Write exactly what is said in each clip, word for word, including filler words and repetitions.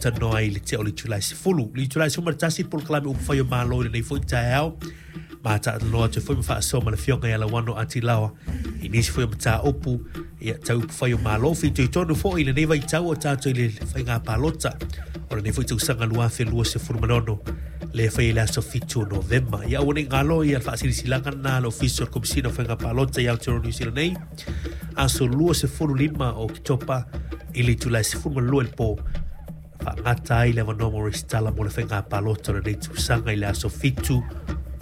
talatalanoa ai i le tea o le itula e sefulu. Le itula e sefulu ma le tasi le polokalame upufai o Malo i lenei foi taeao. Ma talanoa atu foi ma faasoa ma le afioga ia Lauano Atilaoa i nisi foi o mataupu ia tau upufai o Malo. Fitoitonu foi i lenei vaitau o tatou i le faiga palota o lenei foi tausaga lua afe luasefulu ma le ono le fai i le aso fitu o Novema. Ia aua ne i galo ia le faasilasilaga lena a le Ofisa o le Komesina o Faiga Palota i Aotearoa Niu Sila nei, aso luasefulu lima o Oketopa i le itula e sefulu ma le lua i le po, faagata ai le avanoa mo resitala mo le faiga palota o lenei tausaga i le aso fitu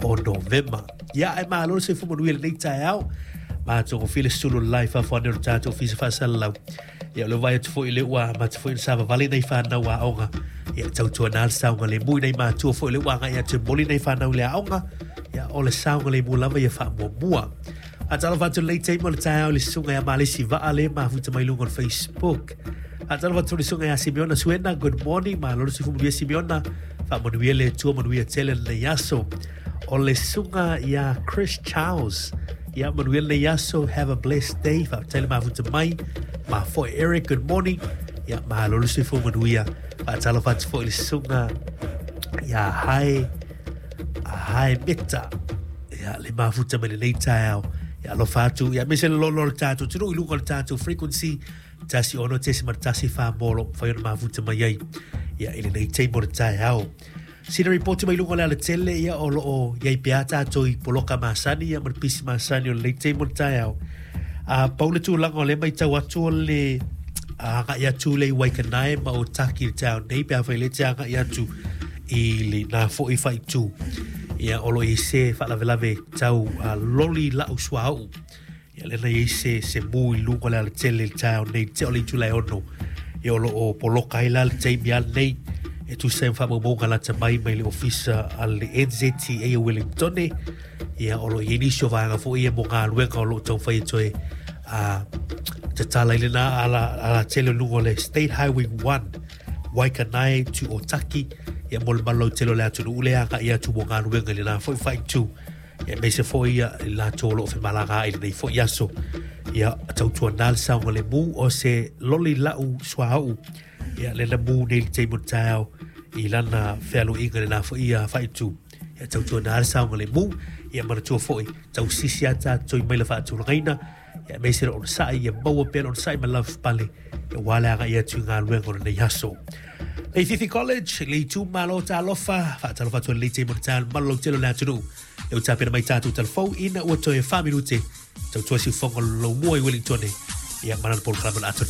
o Novema. Ia ae malo le soifua manuia i lenei taeao. Matagofie le sulu le fafo ane o le tatou ofisa faasalalau. Ia o le vaai atu foi i le ua amata foi ona savavali nai fanau aoga. Ia tautuana le saogalemu i nai matua foi le ua agai atu e momoli nai fanau i le aoga. Ia o le saogalemu lava ia faamuamua. Faatalofa atu i lenei taimi o le taeao i le susuga ia Malesi Vaa le mafuta mai luga o le Facebook. Faatalofa atu i le susuga ia Simeona Suena, good morning, malo le soifua manuia Simeona. Faamanuia le Atua, manuia tele lenei aso. O le susuga ia Chris Charles, ia manuia lenei aso, have a blessed day, faafetai le mafuta mai. Ma foi Eric, good morning. Ia malo le soifua manuia. Faatalofa atu foi i le susuga ia Hae Hae Meta, ia le mafuta mai lenei taeao. Ia alofa atu, ia aemaise le lolo o le tatou atunuu i luga o le tatou frequency tasi ono tesima le tasi fa mo lo mafai ona mafuta mai ai ia i lenei taimi o le taeao. Sina ripoti mai luga o le alatele ia o loo iai pea tatou i poloka masani ia ma le pisi masani o lenei taimi o le taeao. A pau le tulaga o lea matau atu o le agai atu le i Waikanae ma Otaki i le taeao nei pe afai le te agai atu i le na foi faaitu. Ia o lo o i ai se faalavelave tau uh, loli lau suauu. Ia lena i ai se, se mu i luga o le alatele i le taeao nei, te o le itula e ono. Ia o lo o poloka ai la le taimi a lenei e tusa ai ma faamaumauga lata mai mai le ofisa a le N Z T A o Wellingtone. Ia o lo o i ai nisi o vaega foi ia mo galuega o lo o taumafai e toe uh, tatala i lena ala, alatele o luga o le State Highway one Waikanae to Otaki. Ia mo le malolautele o le atunuu le agai atu mo galuega i lena foi faaitu. Ia aemaise foi ia i latou o lo o femalaga i lenei foi aso. Ia tautuana le saogalemu o se loli lau suauu. Ia lena mu nei le taimi o le taeao i lana fealuiga lena foi ia faaitu. Ia tautuana le saogalemu. Ia manatua foi tausisi a tatou i maila faatulagaina. Ia aemaise le onosai, ia maua pea le onosai ma lavapapale. Ia ua le agai atu i galuega o lenei aso. Leififi College, le itumalo talofa, faatalofa atu i lenei taimi o le taeao i le malolautele o le atunuu. Le ua tapena mai tatou talafou ina ua toe fa minute tautua siufofoga o le laumua i Wellingtone. Ia ma lana polokalame o le atoa.